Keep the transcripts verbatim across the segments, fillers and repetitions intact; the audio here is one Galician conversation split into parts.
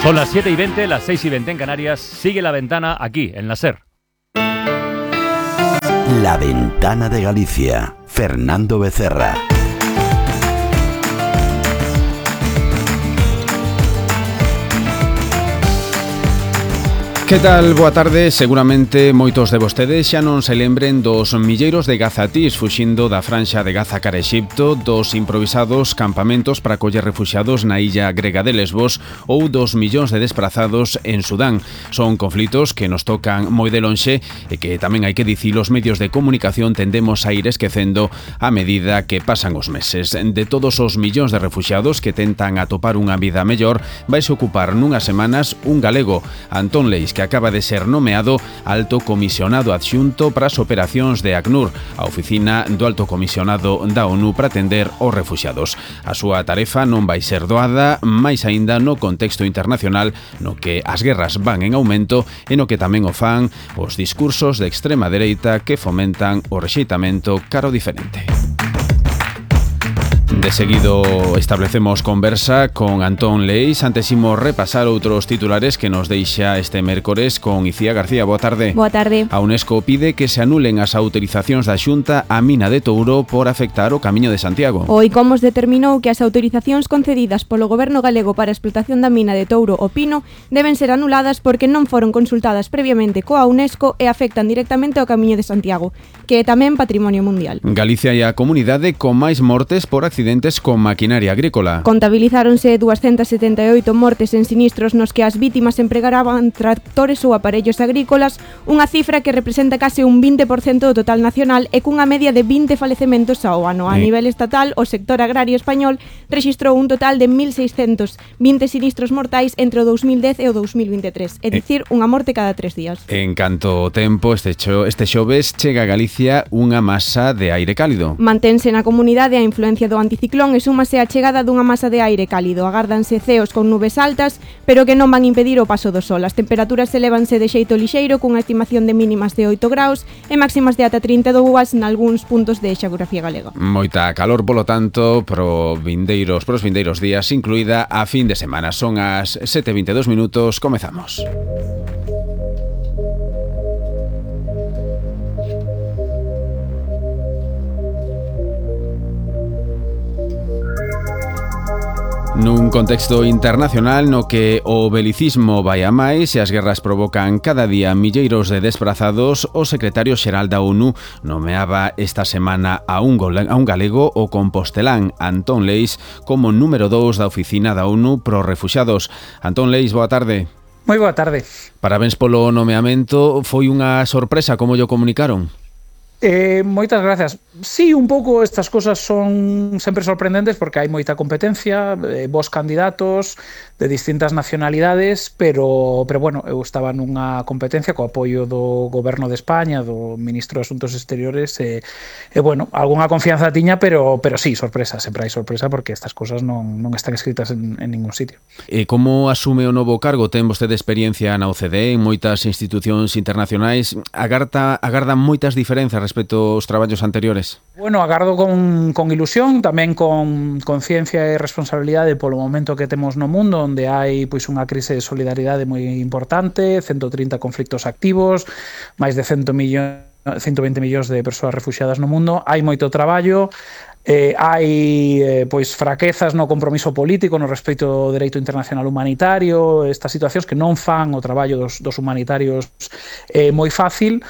Son las siete y veinte, las seis y veinte en Canarias. Sigue La Ventana aquí, en la SER. La Ventana de Galicia. Fernando Becerra. Que tal? Boa tarde. Seguramente moitos de vostedes xa non se lembren dos milleiros de gazatís fuxindo da franxa de Gaza cara Exipto, dos improvisados campamentos para coller refuxiados na illa grega de Lesbos ou dos millóns de desprazados en Sudán. Son conflitos que nos tocan moi de lonxe e que tamén hai que dicir os medios de comunicación tendemos a ir esquecendo a medida que pasan os meses. De todos os millóns de refuxiados que tentan atopar unha vida mellor, vaise ocupar nunhas semanas un galego, Antón Leis, que acaba de ser nomeado Alto Comisionado Adxunto para as operacións de ACNUR, a oficina do Alto Comisionado da ONU para atender os refuxiados. A súa tarefa non vai ser doada, máis aínda no contexto internacional no que as guerras van en aumento e no que tamén o fan os discursos de extrema dereita que fomentan o rexeitamento cara ao diferente. De seguido establecemos conversa con Antón Leis. Antes imos repasar outros titulares que nos deixa este mércores con Icía García. Boa tarde. Boa tarde. A UNESCO pide que se anulen as autorizacións da Xunta á mina de Touro por afectar o Camiño de Santiago. O ICOMOS determinou que as autorizacións concedidas polo Goberno galego para a explotación da mina de Touro o Pino deben ser anuladas porque non foron consultadas previamente coa UNESCO e afectan directamente ao Camiño de Santiago, que é tamén patrimonio mundial. Galicia é a comunidade con máis mortes por accidentes con maquinaria agrícola. Contabilizáronse duascentas setenta e oito mortes en sinistros nos que as vítimas empregaraban tractores ou aparellos agrícolas, unha cifra que representa case un vinte por cento do total nacional e cunha media de vinte falecementos ao ano. A Eh. nivel estatal, o sector agrario español rexistrou un total de mil seiscentos vinte sinistros mortais entre o dous mil dez e o dous mil vinte e tres, é dicir, unha morte cada tres días. En canto ao tempo, este, xo, este xoves chega a Galicia unha masa de aire cálido. Mantense na comunidade a influencia do anticiclón e súmase a chegada dunha masa de aire cálido. Agárdanse ceos con nubes altas, pero que non van impedir o paso do sol. As temperaturas elévanse de xeito lixeiro cunha estimación de mínimas de oito graus e máximas de ata trinta e dous nalgúns puntos de xeografía galega. Moita calor, polo tanto, pro vindeiros, pros vindeiros días, incluída a fin de semana. Son as sete e vinte e dous minutos, comezamos. Nun contexto internacional no que o belicismo vai a máis e as guerras provocan cada día milleiros de desprazados, o secretario xeral da ONU nomeaba esta semana a un, a un galego, o compostelán Antón Leis, como número dous da oficina da ONU pro refuxiados. Antón Leis, boa tarde. Moi boa tarde. Parabéns polo nomeamento. Foi unha sorpresa como llo comunicaron? Eh, moitas gracias. Sí, un pouco estas cosas son sempre sorprendentes porque hai moita competencia, eh, vos candidatos de distintas nacionalidades, pero, pero bueno, eu estaba nunha competencia co apoio do Goberno de España, do Ministro de Asuntos Exteriores, e, e bueno, algunha confianza tiña, pero, pero sí, sorpresa, sempre hai sorpresa porque estas cosas non, non están escritas en, en ningún sitio. E como asume o novo cargo? Ten vostede experiencia na O C DE, en moitas institucións internacionais. Agarda, agardan moitas diferenzas respecto aos traballos anteriores? Bueno, agardo con, con ilusión, tamén con conciencia e responsabilidade polo momento que temos no mundo, onde hai pois unha crise de solidaridade moi importante, ciento trinta conflictos activos, máis de cento vinte millóns de persoas refuxiadas no mundo. Hai moito traballo, eh, hai eh, pois fraquezas no compromiso político no respecto ao dereito internacional humanitario, estas situacións que non fan o traballo dos, dos humanitarios eh, moi fácil.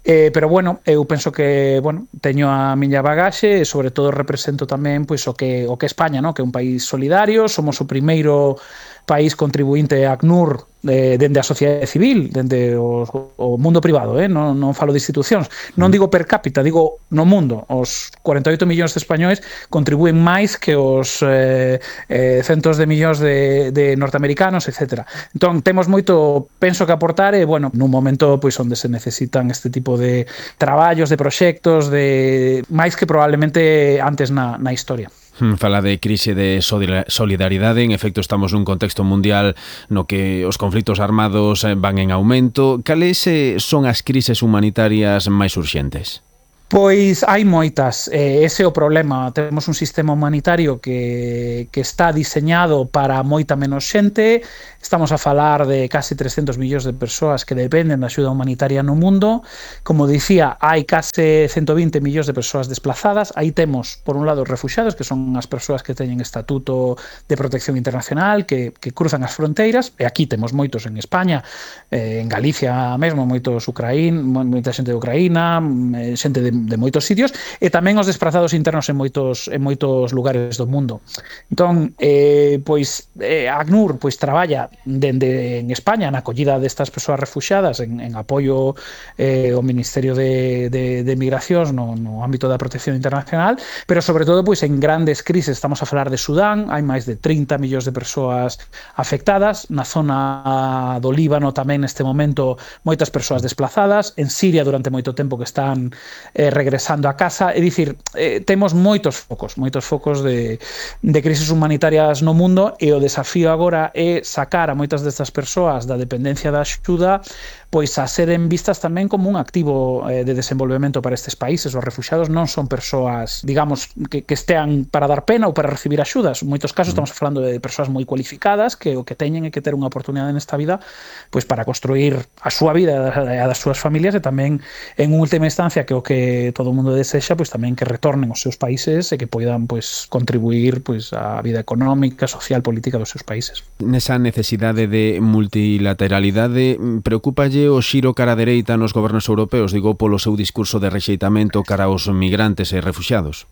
Eh, pero bueno, eu penso que, bueno, teño a miña bagaxe e sobre todo represento tamén pois o que o que España, ¿no? Que é un país solidario, somos o primeiro país contribuinte a ACNUR eh, dende a sociedade civil, dende o, o mundo privado, eh? non, non falo de institucións, non digo per cápita, digo no mundo. Os cuarenta e oito millóns de españois contribúen máis que os eh, eh, centos de millóns de, de norteamericanos, etcétera. Entón, temos moito, penso que aportar, e, bueno, nun momento pois onde se necesitan este tipo de traballos, de proxectos, de máis que probablemente antes na, na historia. Fala de crise de solidaridade. En efecto, estamos nun contexto mundial no que os conflitos armados van en aumento. Cales son as crises humanitarias máis urxentes? Pois hai moitas, eh, ese é o problema. Temos un sistema humanitario que, que está diseñado para moita menos xente. Estamos a falar de casi trescentos millóns de persoas que dependen da axuda humanitaria no mundo. Como dicía, hai case ciento vinte millóns de persoas desplazadas. Aí temos, por un lado, os refuxiados, que son as persoas que teñen estatuto de protección internacional, que, que cruzan as fronteiras, e aquí temos moitos en España, eh, en Galicia mesmo, moitos ucraín, moita xente de Ucraína, xente de de moitos sitios, e tamén os desplazados internos en moitos en moitos lugares do mundo. Entón, eh, pois eh, ACNUR pois traballa dende en España na acollida destas persoas refuxiadas en, en apoio eh, ao Ministerio de, de, de Migracións no, no ámbito da protección internacional, pero sobre todo pois en grandes crises. Estamos a falar de Sudán, hai máis de trinta millóns de persoas afectadas, na zona do Líbano tamén neste momento moitas persoas desplazadas, en Siria durante moito tempo que están eh, regresando a casa. É dicir, eh, temos moitos focos, moitos focos de, de crisis humanitarias no mundo, e o desafío agora é sacar a moitas destas persoas da dependencia da axuda pois a seren vistas tamén como un activo eh, de desenvolvemento para estes países. Os refuxiados non son persoas, digamos, que, que estean para dar pena ou para recibir axudas. En moitos casos estamos falando de persoas moi cualificadas que o que teñen é que ter unha oportunidade nesta vida pois para construir a súa vida e a das súas familias, e tamén en última instancia, que o que todo o mundo desexa, pois tamén que retornen aos seus países e que poidan pois contribuir pois á vida económica, social, política dos seus países. Nesa necesidade de multilateralidade, preocúpalle o xiro cara a dereita nos gobernos europeos, digo, polo seu discurso de rexeitamento cara aos migrantes e refuxiados?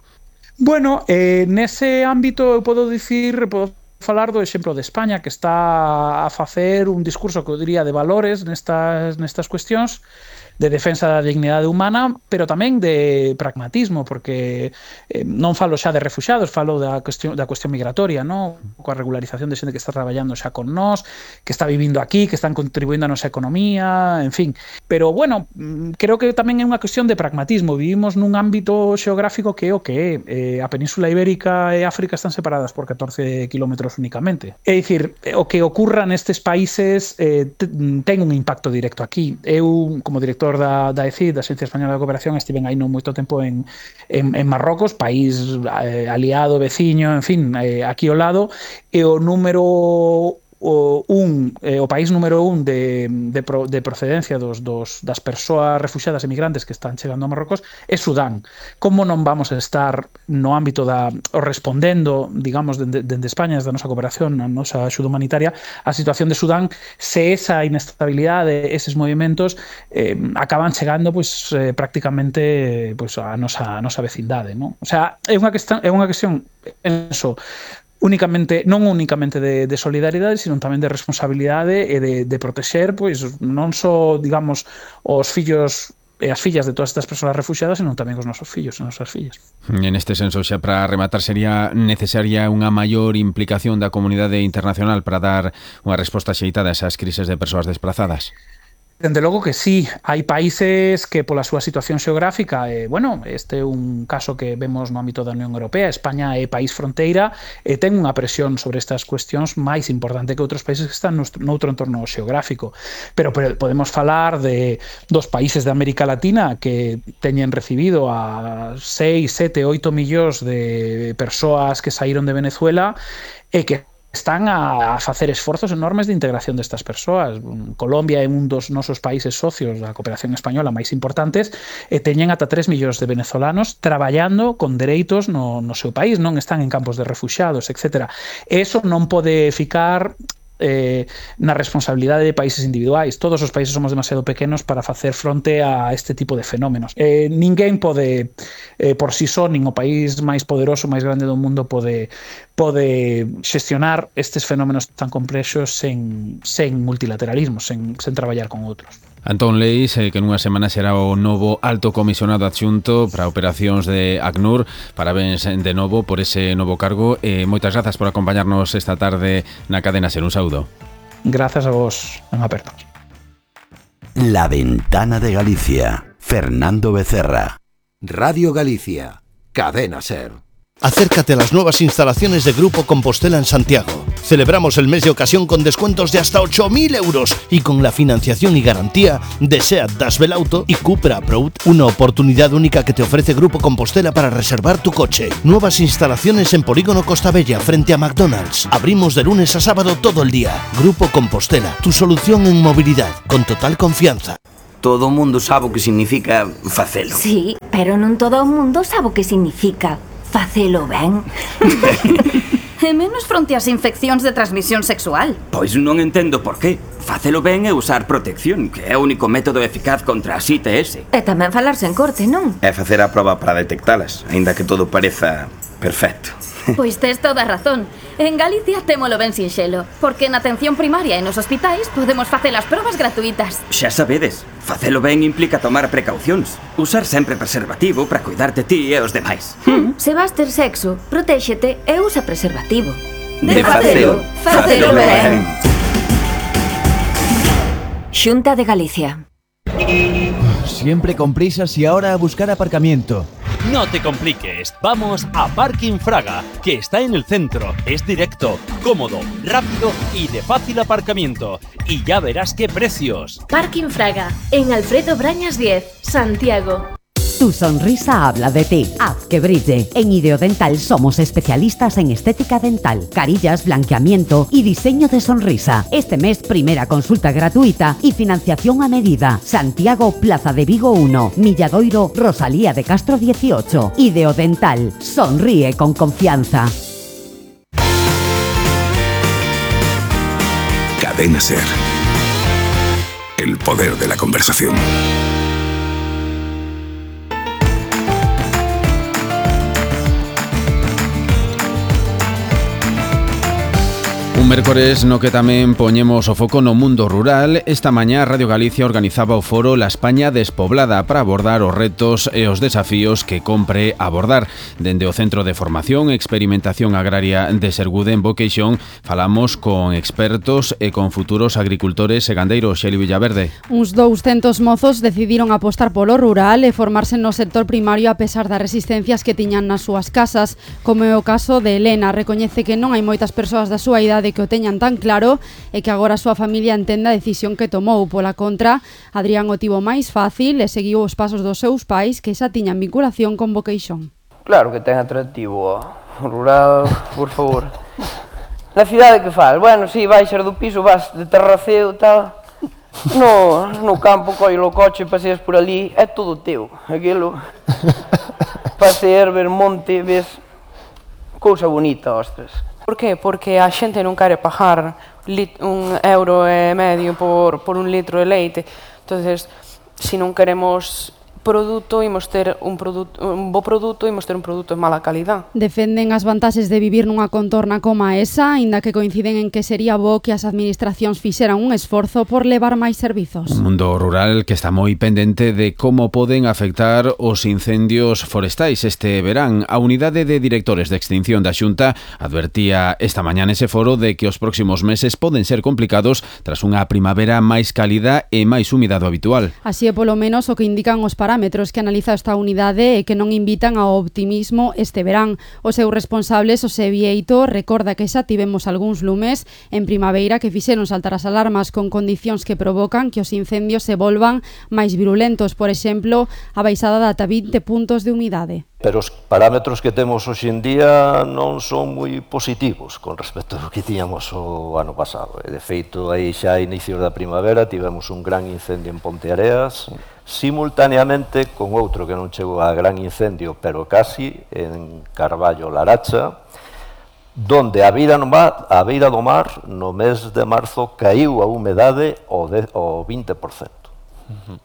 Bueno, eh, nese ámbito eu podo dicir, podo falar do exemplo de España, que está a facer un discurso que eu diría de valores nestas, nestas cuestións, de defensa da dignidade humana, pero tamén de pragmatismo, porque eh, non falo xa de refuxiados, falo da cuestión, da cuestión migratoria, ¿no? Coa regularización de xente que está traballando xa con nós, que está vivindo aquí, que están contribuindo a nosa economía, en fin. Pero, bueno, creo que tamén é unha cuestión de pragmatismo. Vivimos nun ámbito xeográfico que é o que é. Eh, a Península Ibérica e África están separadas por catorce kilómetros únicamente. É dicir, o que ocurra nestes países eh, ten un impacto directo aquí. Eu, como director Da, da E C I, da Agencia Española de Cooperación, estiven aí non moito tempo en, en, en Marrocos, país eh, aliado, veciño, en fin, eh, aquí ao lado, e o número o, un, eh, o país número un de, de, pro, de procedencia dos, dos, das persoas refuxiadas e migrantes que están chegando a Marrocos é Sudán. Como non vamos a estar no ámbito da o respondendo, digamos, dende, dende España, desde a nosa cooperación, a nosa axuda humanitaria, a situación de Sudán, se esa inestabilidade, eses movimentos eh, acaban chegando pois, eh, prácticamente pois, a nosa, a nosa vecindade, non? O sea, é unha cuestión, é unha cuestión eso, únicamente, non únicamente de, de solidaridade, sino tamén de responsabilidade e de, de protexer, pois, non só, digamos, os fillos e as fillas de todas estas persoas refuxiadas, senón tamén os nosos fillos e nosas fillas. En este senso, xa para rematar, sería necesaria unha maior implicación da comunidade internacional para dar unha resposta axeitada a esas crises de persoas desplazadas? Dende logo que sí, hai países que pola súa situación xeográfica, eh, bueno, este é un caso que vemos no ámbito da Unión Europea. España é país fronteira e ten unha presión sobre estas cuestións máis importante que outros países que están noutro entorno xeográfico. Pero, pero podemos falar de dos países de América Latina que teñen recibido a seis, sete, oito millóns de persoas que saíron de Venezuela e que están a, a facer esforzos enormes de integración destas persoas. Colombia é un dos nosos países socios da cooperación española máis importantes e teñen ata tres millóns de venezolanos traballando con dereitos no, no seu país, non están en campos de refuxiados, etcétera. Eso non pode ficar eh, na responsabilidade de países individuais. Todos os países somos demasiado pequenos para facer fronte a este tipo de fenómenos. Eh, ninguén pode, eh, por si só, nin o país máis poderoso, máis grande do mundo pode pode xestionar estes fenómenos tan complexos sen, sen multilateralismo, sen, sen traballar con outros. Antón Leis, eh, que nunha semana será o novo alto comisionado adxunto para operacións de ACNUR. Parabéns de novo por ese novo cargo e eh, moitas grazas por acompañarnos esta tarde na Cadena Ser. Un saúdo. Grazas a vos, en aperto. La Ventana de Galicia. Fernando Becerra. Radio Galicia. Cadena Ser. Acércate a las nuevas instalaciones de Grupo Compostela en Santiago. Celebramos el mes de ocasión con descuentos de hasta ocho mil euros y con la financiación y garantía de SEAT Dash Belauto y Cupra Approved, una oportunidad única que te ofrece Grupo Compostela para reservar tu coche. Nuevas instalaciones en Polígono Costa Bella frente a McDonald's. Abrimos de lunes a sábado todo el día. Grupo Compostela, tu solución en movilidad, con total confianza. Todo o mundo sabe o que significa facelo. Sí, pero non todo o mundo sabe o que significa facelo ben. E menos fronte ás infeccións de transmisión sexual. Pois non entendo por qué. Facelo ben é usar protección, que é o único método eficaz contra as I T S. E tamén falarse en corte, non? É facer a proba para detectalas, aínda que todo pareza perfecto. Pois tes toda a razón. En Galicia témolo ben sinxelo, porque na atención primaria e nos hospitais podemos facer as probas gratuitas. Xa sabedes, facelo ben implica tomar precaucións. Usar sempre preservativo para cuidar de ti e os demais. Mm. Se vas ter sexo, protéxete e usa preservativo. De, de facelo, facelo ben. Xunta de Galicia. Siempre con prisas y ahora a buscar aparcamiento. No te compliques, vamos a Parking Fraga, que está en el centro, es directo, cómodo, rápido y de fácil aparcamiento. Y ya verás qué precios. Parking Fraga, en Alfredo Brañas diez, Santiago. Tu sonrisa habla de ti. Haz que brille. En Ideodental somos especialistas en estética dental, carillas, blanqueamiento y diseño de sonrisa. Este mes, primera consulta gratuita y financiación a medida. Santiago, Plaza de Vigo uno, Milladoiro, Rosalía de Castro dieciocho. Ideodental. Sonríe con confianza. Cadena Ser. El poder de la conversación. Un mércores no que tamén poñemos o foco no mundo rural. Esta mañá Radio Galicia organizaba o foro La España despoblada para abordar os retos e os desafíos que compre abordar. Dende o Centro de Formación e Experimentación Agraria de Sergude en Boqueixón falamos con expertos e con futuros agricultores e gandeiros. Xeli Villaverde. Uns douscentos mozos decidiron apostar polo rural e formarse no sector primario a pesar das resistencias que tiñan nas súas casas, como é o caso de Elena. Recoñece que non hai moitas persoas da súa idade que o teñan tan claro e que agora a súa familia entenda a decisión que tomou. Pola contra, Adrián o tivo máis fácil e seguiu os pasos dos seus pais que xa tiñan vinculación con Boqueixón. Claro que ten atractivo o rural, por favor. Na cidade que faz, bueno, si, baixas do piso, vas de terraceo e tal. No, no campo, collo o coche, paseas por ali, é todo teu. Aquilo, pasear, ver monte, ves cousa bonita, ostras. Por qué? Porque a xente non quere pagar un euro e medio por, por un litro de leite. Entonces, se non queremos produto, imos ter un, produto, un bo produto, imos ter un produto de mala calidad. Defenden as vantaxes de vivir nunha contorna como esa, aínda que coinciden en que sería bo que as administracións fixeran un esforzo por levar máis servizos. Un mundo rural que está moi pendente de como poden afectar os incendios forestais este verán. A Unidade de Directores de Extinción da Xunta advertía esta mañá nese foro de que os próximos meses poden ser complicados tras unha primavera máis cálida e máis húmida do habitual. Así é polo menos o que indican os parámetros que analiza esta unidade e que non invitan ao optimismo este verán. O seu responsable, Xosé Vieito, recorda que xa tivemos algúns lumes en primavera que fixeron saltar as alarmas con condicións que provocan que os incendios se volvan máis virulentos. Por exemplo, a baixada de ata vinte puntos de humidade. Pero os parámetros que temos hoxe en día non son moi positivos con respecto ao que tiñamos o ano pasado. E de feito, aí xa a inicios da primavera tivemos un gran incendio en Ponteareas, simultaneamente con outro que non chegou a gran incendio, pero casi, en Carballo Laracha, donde a beira, no mar, a beira do mar, no mes de marzo, caíu a humedade ao, de, ao vinte por cento. Uh-huh.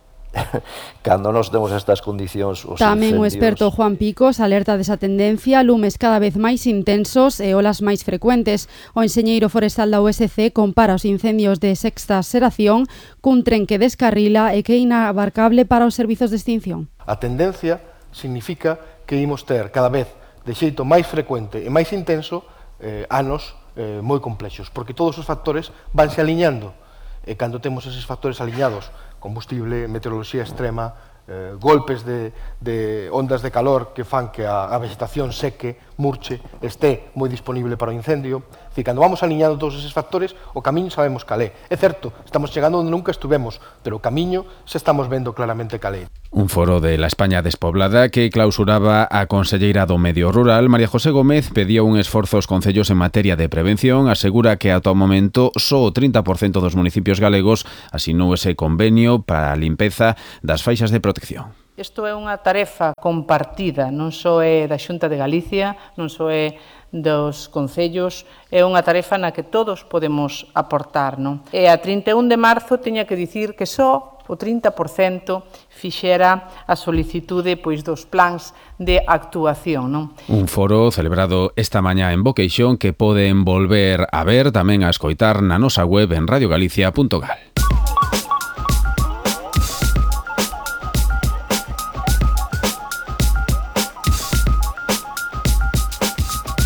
Cando nos temos estas condicións os Tamén incendios... o experto Juan Picos alerta desa tendencia, lumes cada vez máis intensos e olas máis frecuentes. O enxeñeiro forestal da U S C compara os incendios de sexta xeración cun tren que descarrila e que é inabarcable para os servizos de extinción. A tendencia significa que imos ter cada vez de xeito máis frecuente e máis intenso eh, anos eh, moi complexos, porque todos os factores vanse aliñando. E cando temos eses factores aliñados, combustible, meteoroloxía extrema, eh, golpes de, de ondas de calor que fan que a, a vegetación seque, murche, esté moi disponible para o incendio. que cando vamos aliñando todos eses factores, o camiño sabemos cal é. É certo, estamos chegando onde nunca estuvemos, pero o camiño se estamos vendo claramente cal é. Un foro de la España despoblada que clausuraba a conselleira do Medio Rural. María José Gómez pedía un esforzo aos concellos en materia de prevención. Asegura que ata o momento só o trinta por cento dos municipios galegos asinou ese convenio para a limpeza das faixas de protección. Isto é unha tarefa compartida, non só é da Xunta de Galicia, non só é dos concellos, é unha tarefa na que todos podemos aportar, non? E a trinta e un de marzo tiña que dicir que só o trinta por cento fixera a solicitude pois dos plans de actuación, non? Un foro celebrado esta mañá en Boqueixón que poden volver a ver, tamén a escoitar na nosa web en radio galicia punto gal.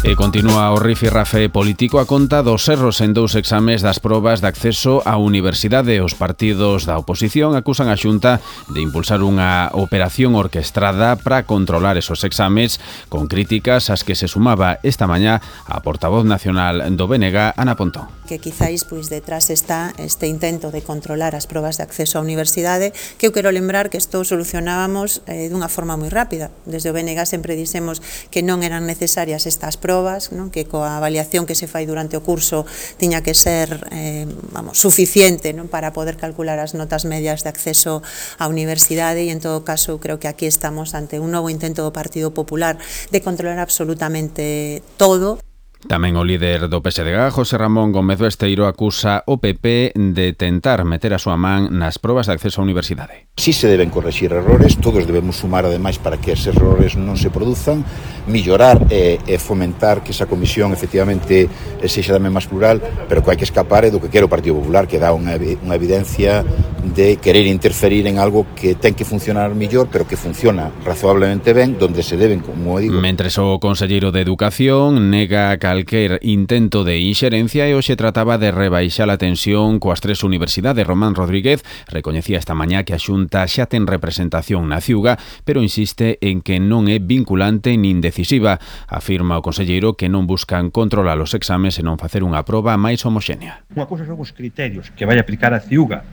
E continúa o rifirrafe político a conta dos erros en dous exames das probas de acceso á universidade. Os partidos da oposición acusan a Xunta de impulsar unha operación orquestrada para controlar esos exames, con críticas ás que se sumaba esta mañá a portavoz nacional do B N G, Ana Pontón. Que quizáis pois detrás está este intento de controlar as probas de acceso á universidade, que eu quero lembrar que isto solucionábamos eh, dunha forma moi rápida. Desde o B N G sempre dixemos que non eran necesarias estas probas, non? Que coa avaliación que se fai durante o curso tiña que ser eh, vamos, suficiente, non? Para poder calcular as notas medias de acceso á universidade, e en todo caso creo que aquí estamos ante un novo intento do Partido Popular de controlar absolutamente todo. Tamén o líder do P S D G, José Ramón Gómez Besteiro, acusa o P P de tentar meter a súa man nas probas de acceso á universidade. Si se deben correxir errores, todos debemos sumar ademais para que eses errores non se produzan, millorar e, e fomentar que esa comisión efectivamente sexa tamén máis plural, pero que hai que escapar é do que quere o Partido Popular, que dá unha, unha evidencia de querer interferir en algo que ten que funcionar millor, pero que funciona razoablemente ben, donde se deben, como digo. Mentres o conselleiro de Educación nega calquer intento de inxerencia e hoxe trataba de rebaixar a tensión coas tres universidades. Román Rodríguez recoñecía esta mañá que a Xunta xa ten representación na Ciuga, pero insiste en que non é vinculante nin decisiva. Afirma o conselleiro que non buscan controlar os exames e non facer unha proba máis homoxénea. Unha cousa son os criterios que vai aplicar a Ciuga,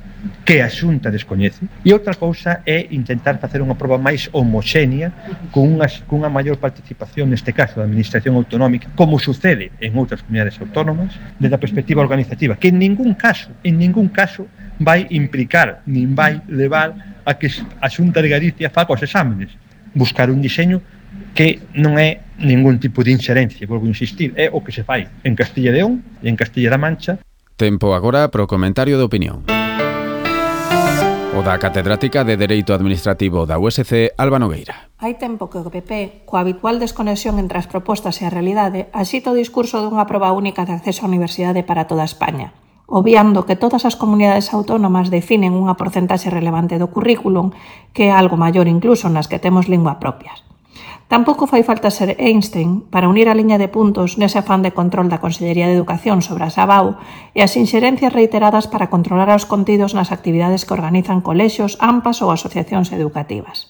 que a Xunta descoñece, e outra cousa é intentar facer unha proba máis homoxénea con unha, con unha maior participación, neste caso da Administración Autonómica, como sucede en outras comunidades autónomas, desde a perspectiva organizativa, que en ningún caso, en ningún caso vai implicar, nin vai levar a que a Xunta de Galicia faga os exámenes. Buscar un diseño que non é ningún tipo de inxerencia, volvo a insistir, é o que se fai en Castilla e León e en Castilla-La Mancha. Tempo agora pro comentario de opinión. O da catedrática de Dereito Administrativo da U S C, Alba Nogueira. Hai tempo que o P P, coa habitual desconexión entre as propostas e a realidade, axita o discurso dunha proba única de acceso á universidade para toda España, obviando que todas as comunidades autónomas definen unha porcentaxe relevante do currículum, que é algo maior incluso nas que temos lingua propias. Tampouco fai falta ser Einstein para unir a liña de puntos nese afán de control da Consellería de Educación sobre a Sabau e as inxerencias reiteradas para controlar os contidos nas actividades que organizan colexios, AMPAs ou asociacións educativas.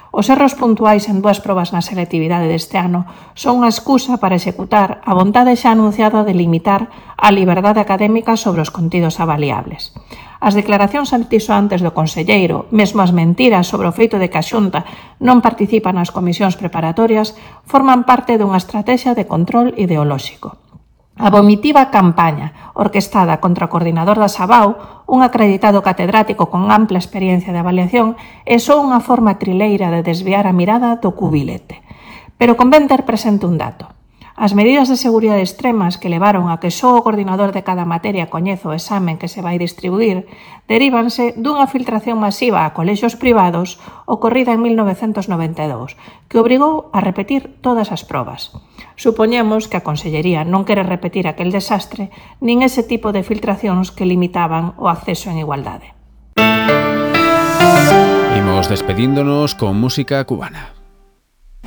Os erros puntuais en dúas probas na selectividade deste ano son unha excusa para executar a vontade xa anunciada de limitar a liberdade académica sobre os contidos avaliables. As declaracións antisoantes do conselleiro, mesmo as mentiras sobre o feito de que a Xunta non participa nas comisións preparatorias, forman parte dunha estrategia de control ideolóxico. A vomitiva campaña orquestada contra o coordinador da Sabau, un acreditado catedrático con ampla experiencia de avaliación, é só unha forma trileira de desviar a mirada do cubilete. Pero convén ter presente un dato. As medidas de seguridade extremas que levaron a que só o coordinador de cada materia coñeza o examen que se vai distribuir derívanse dunha filtración masiva a colexios privados ocorrida en mil novecentos noventa e dous, que obrigou a repetir todas as probas. Supoñemos que a Consellería non quere repetir aquel desastre nin ese tipo de filtracións que limitaban o acceso en igualdade. Imos despedíndonos con música cubana.